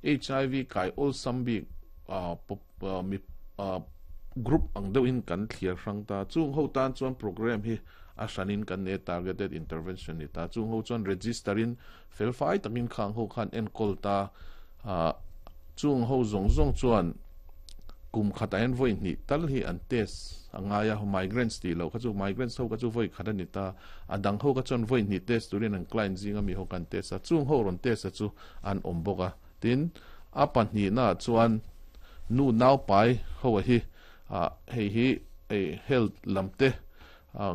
HIV kai awlsam bik mi group ang deuhin kan thliar hrang ta. Chung ho tan chuan program hi a hranin kan nei a, targeted intervention ni ta. Chung ho chuan register in felfai takin khang ho khan enkawl ta. Chung ho zawng zawng chuan kum khatah hian vawi hnih tal hi an test a ngai a, migrants tih loh kha chu migrants ho kha chu vawi khat a ni ta, a dang ho kha chuan vawi hnih test turin an client zinga mi ho kha an test a, chung ho rawn test a chu an awm bawk a. Tin, a pahnihnaah chuan nu naupai ho a hi hei hi health lam te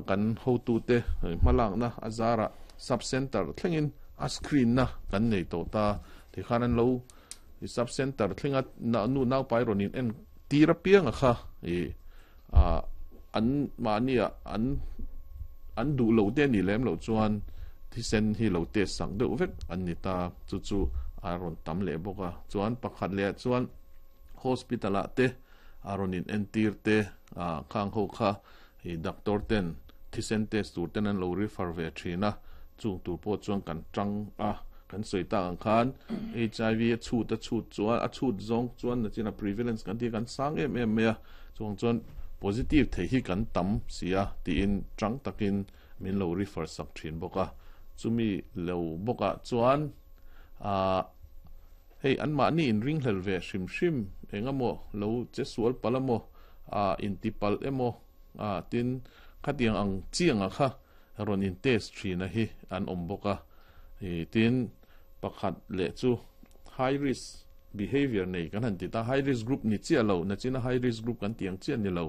kan hotute hmalakna a zarah sub centre thlengin a screen na kan nei tawh ta, tikhan an lo I sub centre thlenga nu naupai rawn in en tir apianga kha i an mahnia an an duh lo te anih lem loh chuan thisen hi lo test sak deuh vek an ni ta, chu chu a rawn tam leh bawk a. Chuan pakhat leh ah chuan hospital ah te a rawn in entir te khang ho kha i doctor ten thisen test tur ten an lo refer ve thin a, chung tur pawh chuan kan tang a, kan sawi tak ang khan HIV a chhut a chhut chuan a chhut zawng chuan nachin a prevalence kan tih kan sang em em mai a, chuvang chuan positive thei hi kan tam si a tiin tang takin min lo refer sak thin bawk a, chumi lo bawkah chuan ah hei anmahni inringhlel ve hrim hrim eng emaw lo che sual palh emaw ah intipalh emaw ah tin khatiang ang chiangah kha rawn in test thin a hi an awm bawk a ih tin pakhat leh chu high risk behavior nei kan han ti ta high risk group ni chiah lo nachina high risk group kan tih ang chiah ni lo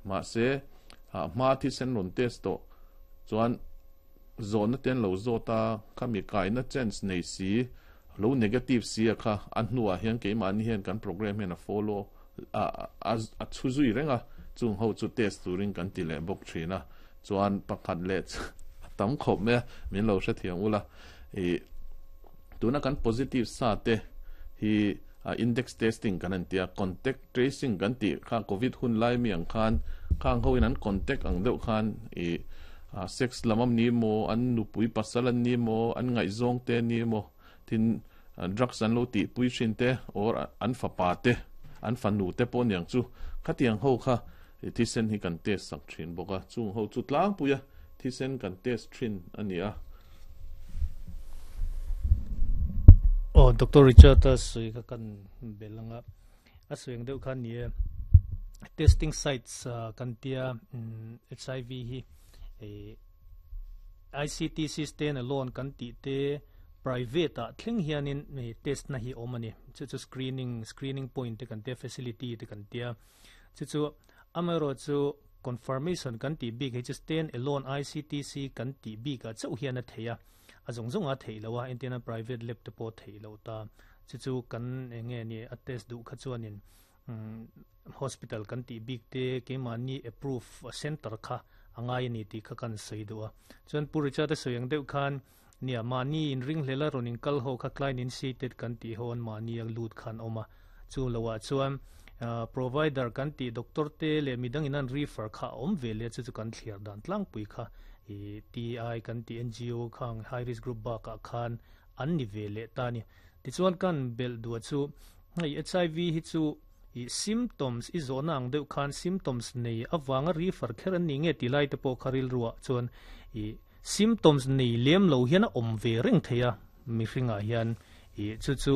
mahse ah hma thisen rawn test tawh chuan zawhna te an lo zawt a khami kaina chance nei si lo negative si a kha a hnuah hian keimahni hian kan program hian a follow a chhu zui reng a, chung ho chu test turin kan ti leh bawk thin a, chuan pakhat leh a tam khawp mai a, min lo hrethiam ula, ih tuna kan positive sa te hi index testing kan han ti a, contact tracing kan tih kha covid hun lai mi ang khan khang ho in an contact ang deuh khan ih sex lam am ni maw, an nupui pasal an ni maw, an ngaihzawng te an ni maw, Tin, drugs an lo tihpui thin te or an fapa te, an fanu te pawh aniang chu khatiang ho kha thisen hi kan test sak thin bawk a, chung ho chu tlangpuia thisen kan test thin a ni a. Aw, Doctor Richard a sawi kha kan bel anga, a sawi ang deuh kha ni e, testing sites kan tia HIV hi ICTC stand alone kan tih te private ah thleng hianin test na hi awm a ni. Chu chu screening, screening point te kan tia, facility te kan tia. Chu chu amaherawh chu confirmation kan tih bik hi chu stand alone ICTC kan tih bik ah chauh hian a theih a, a zawng zawng a theih loh a, entirna private lab te pawh a theih loh ta. Chu chu kan eng nge ni a test duh kha chuanin Hospital kan tih bik te keimahni approve center kha a ngai a ni tih kha kan sawi duh a. Chuan Pu Richard a sawi ang deuh khan nia mahni inringhlel a rawn inkal ho kha client initiated kan tih ho an mahni a lut khan awm a. Chu loah chuan provider kan tih doctor te leh midang in an refer kha a awm ve leh a chu chu kan thliar dan tlangpui kha TI kan tih NGO khang high risk group bakah khan an ni ve leh ta a ni. Tichuan kan belh duah chu hei HIV hi chu ih symptoms i zawhna ang deuh khan symptoms nei avanga refer kher an ni nge tih lai te pawh kha rilruah chuan ih symptoms nei lem lo hian a awm ve reng thei a mihringah hian ih chu chu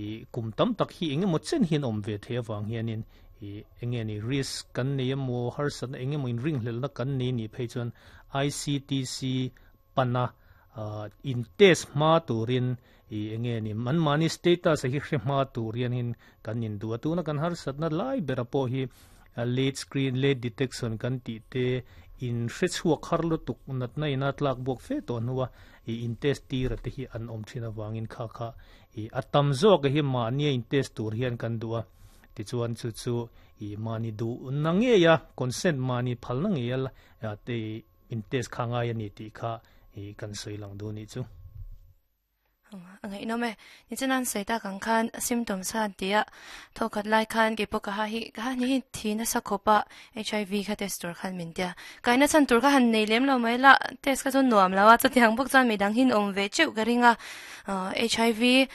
ih kum tam tak hi eng emaw chen hian awm ve thei avang hianin ih eng nge ni risk kan nei emaw harsatna eng emaw inringhlelhna kan nei nih phei chuan ICTC pana in test hma turin i enge ni an mahni status a hi hre hma tur hianin kan in duh a tuna kan harsatna lai bera pawh hi late screen late detection kan tih te in hre chhuak har lutuk natna ina tlak buak fe tawh hnua i in test tir a te hi an awm thin avangin kha kha i a tam zawk hi mahnia in test tur hian kan duh a tichuan chu chu i mahni duh na ngei a consent mahni phalna ngei a te In test kha ngai a ni tih kha i kan sawi lang duh nih chu. A ngaihnawm e. Nichina an sawi tak ang khan symptoms kha an ti a, thawkhat lai khan keipawh ka ha hi ka ha hnih hi thi nasa khawp a, HIV kha test tur khan min tia. Kaina chhan tur kha han nei lem lo mai la, test kha chu nuam lo a, chutiang bawk chuan midang hi an awm ve teuh ka ring a, HIV kan.